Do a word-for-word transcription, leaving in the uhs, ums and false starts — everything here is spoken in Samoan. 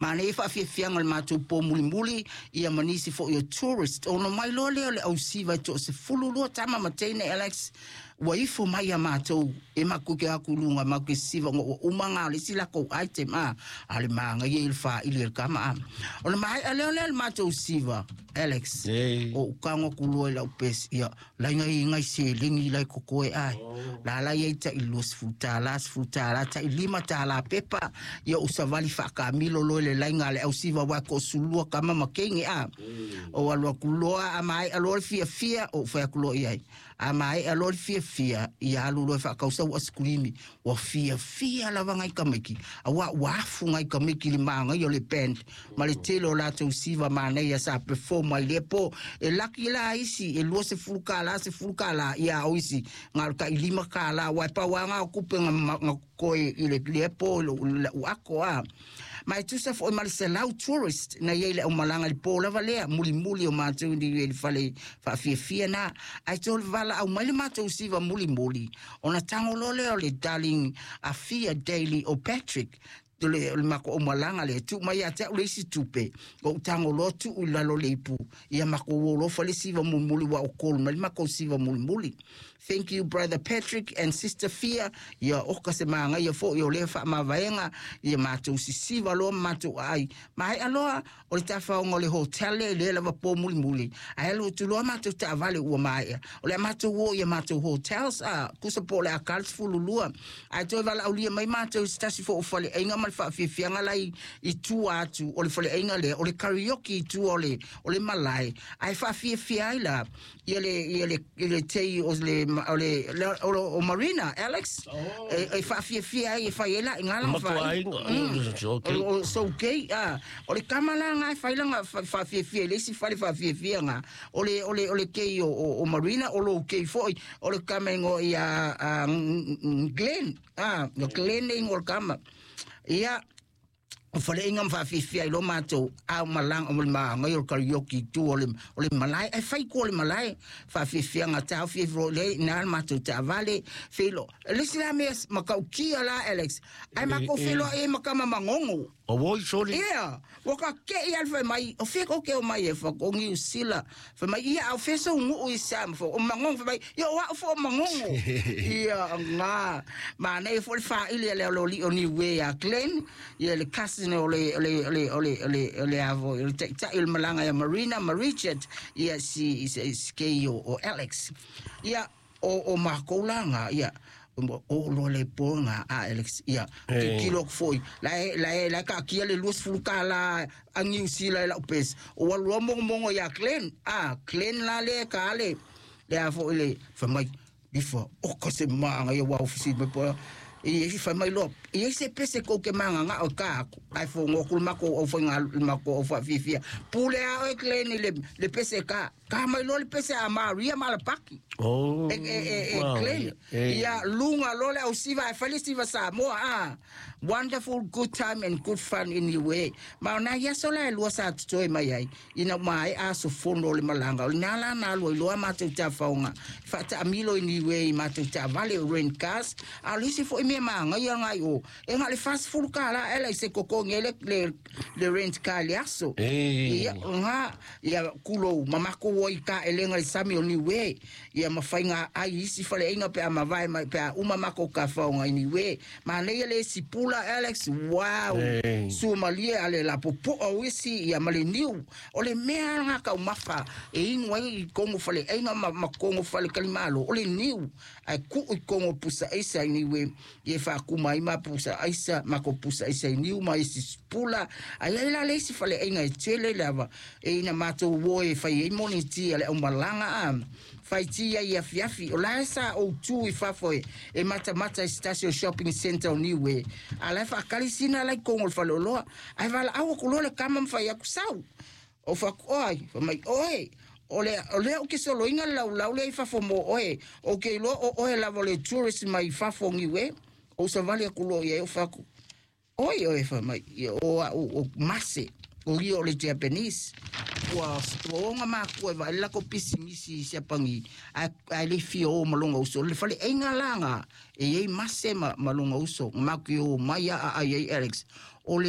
Manaia faafiafiaga o le matou po mulimuli ia ma nisi foʻi o tourist ona mai loa lea o le ausiva e toasefulu lua tama ma teine, Alex, ua ifo mai ia matou e makou ke aku luga makou ke siva ona ua uma gā o le isi lakou item a a le magaia i le faili e le kama a o le maeʻa lea o lea le matou siva, Alex. Ei. O ukago aku loa i lau pesi ia laiga igai seleni lai kokoe ae la la iai taʻi luasefulu tālā, sefulu tālā, taʻi lima tālā pepa ia ou savali faakamilo loa i le laiga a le ausiva ua koʻosulua kama ma keige a o alu aku loa a maeʻa loa le fiafia ou fai atu loa iai a maeʻa loa le fiafia ia alu loa e faakausa ua asikulimi ua fiafia lava gai kamaiki auā ua afu gai kamaiki i le magaia o le band ma le tele o latou siva manaia sa perform ai lea po e laki la isi e luasefulu kālā, sefulu kālā ia o isi ga o le taʻilima kālā ua e pauaga o kupe ga ga koe i le lea po i la'u ako a ma e tusa foʻi ma le selau tourist na iai le aumalaga i le pō lava lea mulimuli o matou i le fale faafiafia na ae tole valaau mai le matou siva mulimuli ona tago loa lea o le darling Afia Daily o Patrick o le, o le makou aumalaga lea tuu mai ia te a'u le isi tupe ou tago loa tuu i lalo le ipu ia makou olofa le siva mulimuli ua o kolu mai le makou siva mulimuli. Thank you, Brother Patrick and Sister Fia. Ia oka se magaia foʻi o lea faamavaega ia matou sisiva loa ma matou aai maea loa o le tafaoga o le hotel lea i lea lava po mulimuli ae alu atu loa matou taavale ua maea o le a matou o ia matou hotels a kusa po o le a sefululua ae toe valaaulia mai matou i se tasi foʻu faleaiga ma le faafiafiaga lai i tua atu o le faleaiga lea o le karaoke i tua o le o le malae ae faafiafia ai la ia le ia le le tei o le o le o, o Marina, Alex, e, e faafiafia ai e fai ai la i ngala. Matuaiga, okay. O so gay a o le kama la nga e fai langa faafiafia i le isi fale faafiafia o le o le o le kei o, o, o Marina o lo kei foi o le kama ingo ia a, Glenn a no Glenn ingo le kama ia o faleaiga ma faafifia i lo matou ao malaga o le magai o le karaoke i tua o le, o le malae e fai kua o le malae faafiafiaga taofi le na le matou taavale feilo le isi la mea makaukia la, Alex, ai makou feloai ai ma kama magogo. O woi soli. Ia, ua ka keʻi ale fai mai, o fia koke o mai e fa o Niu Sila. Fai mai, ia au fesa ungu i sa ma o mangongo fai mai, ia o au fo mangongo. Ia, ngā, ma nei fo le whaili le o li o Niue a Glenn, ia le cousin o le, o le, o le, o le, o le, o le avo, o le taitai o le malanga ia Marina, ma Richard, ia si, si, si kei o, o Alex. Ia, o, o makou langa, ia, o lo le ponga a Alex ia Eh. kilo foi la la la ka kia le lua sefulu kala a New Zealand la pes o alu mo mo ia Glenn a Glenn la le ka le le a fo le fa mai before o ko se manga ia wa ofisi me po i i fa mai lo i se pese ko ke manga nga o ka ai fo ngo ku mako o fo nga mako o fa fi fi pule a o Glenn le le pese ka ka mai lo le pese a Maria Malapaki. Oh. E e e e wow. Glenn Eh. ia lunga lole au siva e fale siva Samoa a wonderful good time and good fun in Niue ma na ia sola e lua sa totoe mai ai ina mai a so fono le malanga o le nā la nā lua i loa matou tafaoga faataamilo i Niue i matou taavale o rent cars a o le isi foʻi mea magaia gai o e ga le fasefulu kālā ela i se kokogi ai le, le, le rent car le aso. Eh. Ia nga ia kulou ma makou o i ka elega le sami o Niue ia mafaiga ai isi faleaiga pe a mavae mai pe a uma makou kafaoga i Niue manaia le isi pula, Alex, wow. Ei. Suamalie ale la popoa o isi ia ma le niu o le mea ga kaumafa e inu ai i kogo faleaiga ma, ma kogo falekalimalo o le niu ae kuu i kogo pusa aisa i Niue ia e faakuma ai ma pusa aisa ma ko pusa aisa i niu ma isi pula ai ai la le isi faleaiga e tele lava e ina matou o e fai ai moni tia le aumalaga a fai tia i afiafi o la e sa ou tu i fafo e, e matamata i se o shopping center o Niue a la e faakalisina lai kogo o le faleoloa ae valaau aku loa le kama ma fai aku sau o faku oi fa mai oi o le o le o ke soloinga lau lau le i fafo mo oe o ke iloa o oe lava o le tourist mai fafo Niue o savali aku loa ia o faku oi oi fa mai ia o o, o mase o ia o le Japanese ua ua onga makua e vaai le lako pisimisi i siapagi ae ae le fia o ma loga uso le faleaiga laga e iai mase ma, ma loga uso maku o mai a'a ai ai, Alex, o le